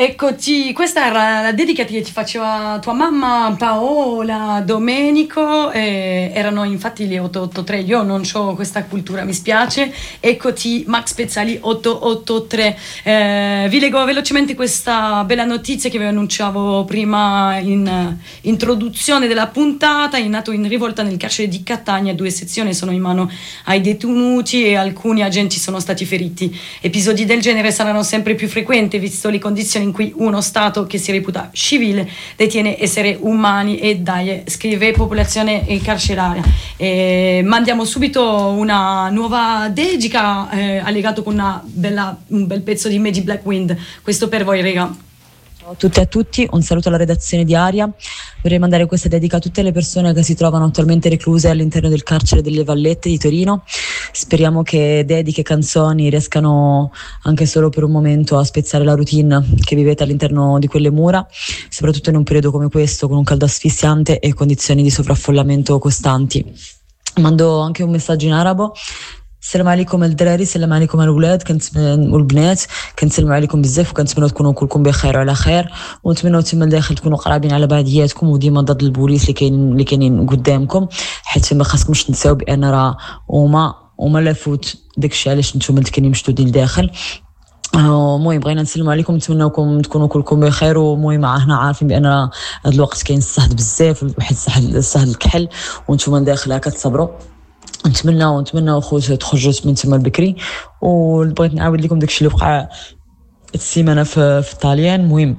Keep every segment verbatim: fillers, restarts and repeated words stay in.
Eccoti, questa era la dedica che ti faceva tua mamma Paola, Domenico, eh, erano infatti le otto otto tre, io non ho questa cultura, mi spiace. Eccoti Max Pezzali otto otto tre. Eh, vi leggo velocemente questa bella notizia che vi annunciavo prima in eh, introduzione della puntata. È nato in rivolta nel carcere di Catania, due sezioni sono in mano ai detenuti e alcuni agenti sono stati feriti. Episodi del genere saranno sempre più frequenti visto le condizioni in cui uno Stato che si reputa civile detiene esseri umani. E dai, scrive popolazione carceraria. E mandiamo subito una nuova dedica eh, allegato con una bella, un bel pezzo di Medi Black Wind. Questo per voi, raga. Ciao a tutti e a tutti, un saluto alla redazione di Aria. Vorrei mandare questa dedica a tutte le persone che si trovano attualmente recluse all'interno del carcere delle Vallette di Torino. Speriamo che dediche e canzoni riescano anche solo per un momento a spezzare la routine che vivete all'interno di quelle mura, soprattutto in un periodo come questo, con un caldo asfissiante e condizioni di sovraffollamento costanti. Mando anche un messaggio in arabo. السلام عليكم الدراري، السلام عليكم الولاد كنتمنى والبنات، كنسلموا عليكم بزاف وكنتمنى تكونوا كلكم بخير وعلى خير، ونتمنى تما لداخل تكونوا قرابين على بعضياتكم وديما ضد البوليس اللي كاين اللي كاينين قدامكم، حيت ما خاصكمش تنساو بان راه هما هما la faute داكشي علاش نتوما اللي كاينين مشدودين لداخل. المهم بغينا نسلموا عليكم، نتمناوكم تكونوا كلكم بخير. والمهم حنا عارفين بان هذا الوقت كاين الصهد بزاف، واحد الصهد الصهد الكحل، وانتم داخل هكا تصبروا. نتمنى نتمنى خوت تخرجوا من تما البكري. وبغيت نعاود لكم داكشي اللي وقع السيمانه في, في الطاليان. المهم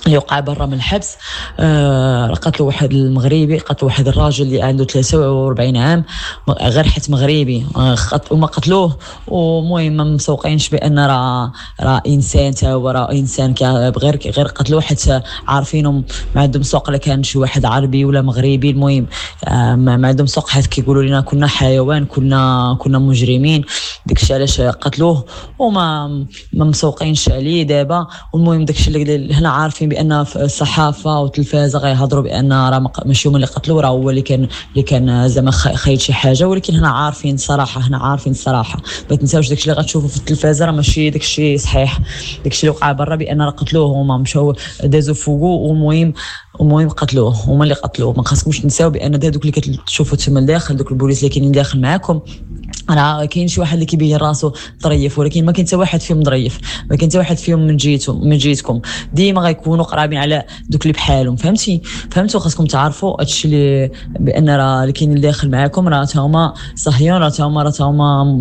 اللي وقع برا من الحبس، آه قتلوا واحد المغربي، قتلوا واحد الراجل اللي عنده ثلاثة وأربعين عام غير حيت مغربي، آه وما قتلوه. ومهم ما مسوقينش بان راه راه انسان، تا هو راه انسان، غير غير قتلوه حيت عارفينهم ما عندهم سوق لا كان شي واحد عربي ولا مغربي. المهم آه ما عندهم سوق حيت كيقولوا لنا كنا حيوان، كنا كنا مجرمين، داكشي علاش قتلوه وما ما مسوقينش عليه دابا. والمهم داكشي اللي هنا عارفين بان الصحافه والتلفازه غيهضروا بان راه ماشي هما اللي قتلوا، راه هو اللي كان اللي كان زعما خايل شي حاجه، ولكن هنا عارفين الصراحه، هنا عارفين الصراحه. ما تنساوش داكشي اللي غتشوفوا في التلفازه راه ماشي داكشي صحيح، داكشي اللي وقع برا بان راه قتلوه هما، مشاو دازوا فوقو، والمهم المهم قتلوه هما اللي قتلوه. ما خاصكمش تنساو بان دوك اللي كتشوفوا تما لداخل، دوك البوليس اللي كاينين داخل معاكم، راه كاين شي واحد اللي كيبين راسو ظريف، ولكن ما كاين حتى واحد فيهم ظريف، ما كاين حتى واحد فيهم من جهتهم من جهتكم، ديما غيكونوا قرابين على دوك اللي بحالهم. فهمتي؟ فهمتوا؟ خاصكم تعرفوا هادشي اللي بان راه اللي كاينين داخل معاكم راه تا هما صهيون، راه تا هما راه تا هما